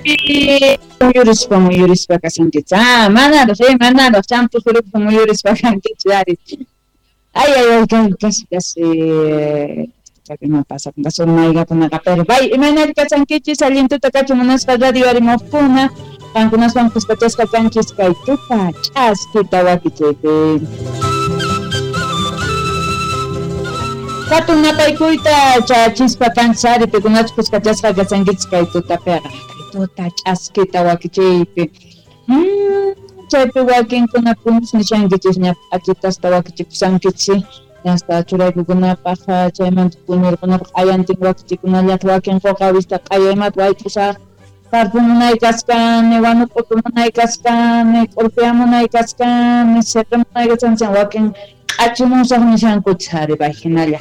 Chaypi muyurispa kasankichis. Ah, manaraj champu surupi muyurispa kankichis ari. Ay, casi no pasa con maygakunaqa, pero bay imaynari kasankichis allintuta kachun munasqa radio arimuqkuna qankunaswan kuskachasqa kanchis kay tuta ch'askita wakichiypi. Hatun napaykuyta chachispa kanchis ari pikunachus kuskachasqa kasankichis kay tutapiqa kay tuta ch'askita wakichiypi. Chaypi wakinkuna punis nishankichisña p'achitasta wakichikusankichis hasta churaykukunapaq chaymanta puñurkunapaq q'ayantin wakichikunallata wakin quqawista q'ayaymata wayt'usaq tarpu munay kaskani wanuq'utu munay kaskani k'urpiya munay kaskani siqi munay kaskani wakin q'achimusaq nishankuchis ari bay hinalla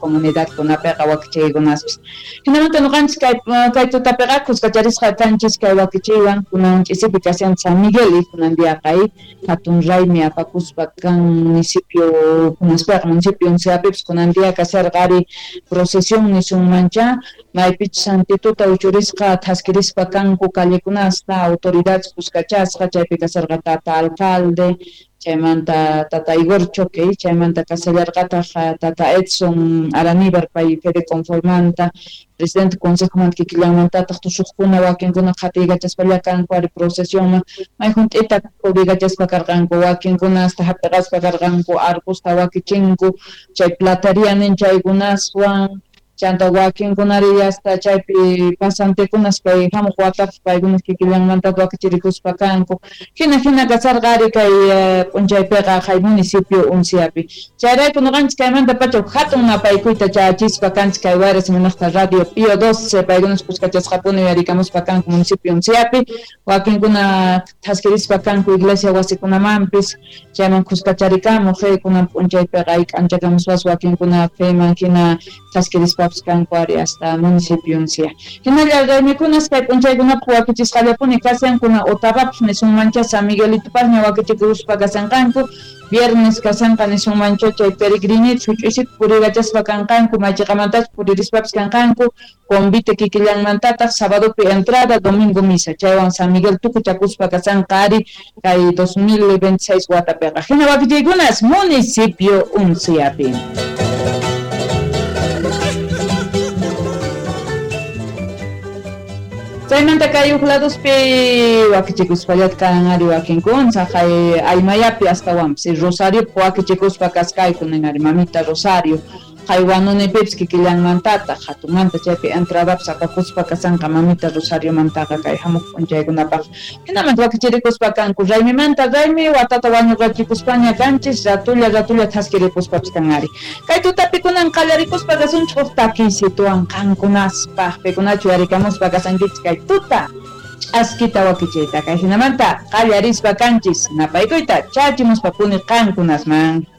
comunidadkunapiqa wakichiykunaspis. Hinamanta nuqanchis kay tutapiqa kuskacharisqa kanchis kay wakichiywan kunan ch'isipi kashan San Miguel kunan diaqa hatun raymi apakuspa kan municipio kunaspiqa municipio Unciapipis kunan dia kasharqa ari procesión nisunmancha maypichus santituta uchurisqa thaskirispa kanku callekunasta autoridades kuskachasqa chaypi kasharqa tata alcalde chaymanta tata Igor Choque chaymanta kasallarqataq tata Edson Araníbar pay Fede Conformanta presidente consejomanta kikillanmantataq tusuqkuna wakinkuna qhatiykachaspa kanku ari procesionman may hunt'ita puriykachaspa karqanku wakinkuna hasta hap'iqaspa karqanku arcosta wakichinku chay plateria nin chaykunaswan chanta wakinkunari hasta chaypi pasantekunas kay hamuq watapaq paykunas kikillanmanta wakichirikuspa kanku hina kasarqa ari kay p'unchaypiqa hay municipio Unciapi chayrayku nuqanchis kaymanta pacha hatun napaykuyta chayachispa kanchis kay Wayra Simunaqta Radio Pío 12 paykunas kuskachasqapuni uyarikamuspa kanku municipio Unciapi wakinkuna thaskirispa kanku iglesia wasikunamanpis chayman kuskacharikamuq kunan p'unchaypiqa k'anchakamuspas wakinkuna feman hina thaskirispa kanku ari hasta municipio Uncia. Hinalla raymikunas kay p'unchaykunapaq wakichisqallapuni kashan kuna Otavapaq nisunmancha San Miguelitopaqña wakichikuspa kashanqanku viernes kashanqa nisunmancha chay peregrinit huch'uysita puriykachaspa kanqanku maychiqamantachus puririspapis kanqanku convite kikillanmantataq sabadopi entrada domingo misa chaywan San Miguel tukuchakuspa kashanqa ari kay 2026 watapiqa hina wakichiykunas municipio Unciapi. Chaymanta kay huk ladospi wakichikuspallata kan ari wakinkuna saqay Aymayapi astawanpis Rosariopi wakichikuspa kaskayku nin ari mamita Rosario hay wanunipipis kikillanmantataq hatunmanta chaypi entradapis apakuspa kasanqa mamita Rosariomantaqa kay hamuq p'unchaykunapaq hinamanta wakichirikuspa kanku raymimanta raymi watata wañuqachikuspaña kanchis ratulla thaskiripuspapis kan ari kay tutapi kunan qallarikuspa kasunchik huk takiysituwan qankunaspaq pikunachu yarikamuspa kasankichis kay tuta ch'askita wakichiyta kay hinamanta qallarispa kanchis napaykuyta chachimuspapuni qankunasman.